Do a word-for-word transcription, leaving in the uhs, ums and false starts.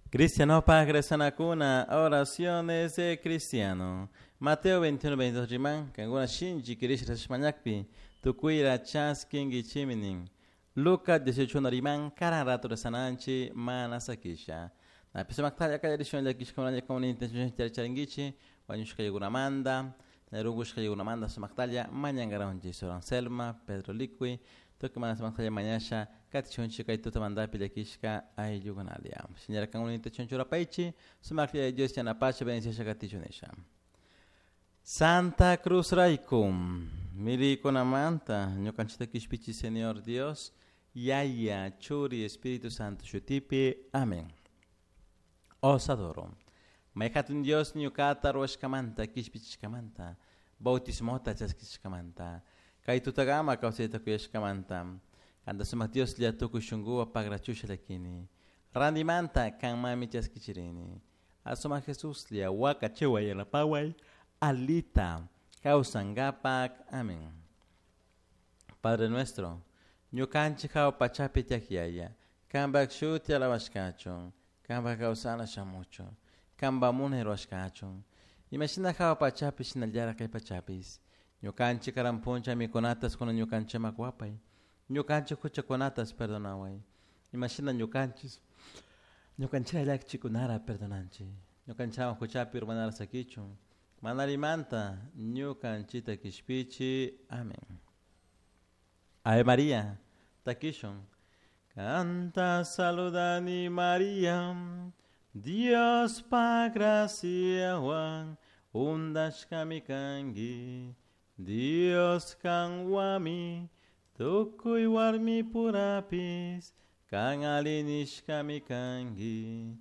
Cristiano Pagresanacuna, oraciones de cristiano. Mateo veintiuno, veintidós riman, kankuna shinchi kirish rashmañakpi, tukuyra chaskinkichiminin. Lucas dieciocho riman, karan rato rezananchi, mana sakisha. Napi sumaktalla kallarishun llakishkunalla con intención charinkichi, wañushka yaykunamanta, rungushka yaykunamanta sumaktalla mañankaranchik Sor Anselma, Pedro Liqui, tukuy mana sumaktalla mañasha, katichunchi kay tutamantapi llakishka ayllukunalia. Señora kankuna intención churapaychi, sumaklla Dios yanapacha bendiciasha katichunisha. Santa Cruz Raikum, milikunamanta, ñukanchita kishpichi Señor Dios, Yaya, Churi, Espíritu Santo, Shutipi, amén. Os adoro. Mayhatun Dios ñukata ruwashkamanta, kishpichishkamanta, bautismota chaskishkamanta, kay tutagama kawsayta kuyashkamanta, kanta sumak Dios lla tukuy shunkuwa pagrachusha llakini, randimanta kanmami chaskichirini. Asumak Jesus lla wakachiway yanapaway, alita kawsankapak. Amén. Padre nuestro, ñukanchik hawa pachapi tiyak yaya, kanpak shuti alabashkachun, kanpak kawsana shamuchun, kanpak munay ruwashkachun, imashina hawa pachapi shinallara kay pachapis, ñukanchik karan puncha mikunatas kuna ñukanchikman wapay, ñukanchik huchakunatas perdonaway, imashina ñukanchis, ñukanchira llakichikunara perdonanchik, ñukanchikwan huchapi urmanara sakichun, manarimanta ñukanchita kishpichi. Amén. Ave María, takishun. Canta saludani María, Dios pa graciawan, undashkami kanki, Dios kanwami, tukuy warmi purapis, kan alinishkami kanki,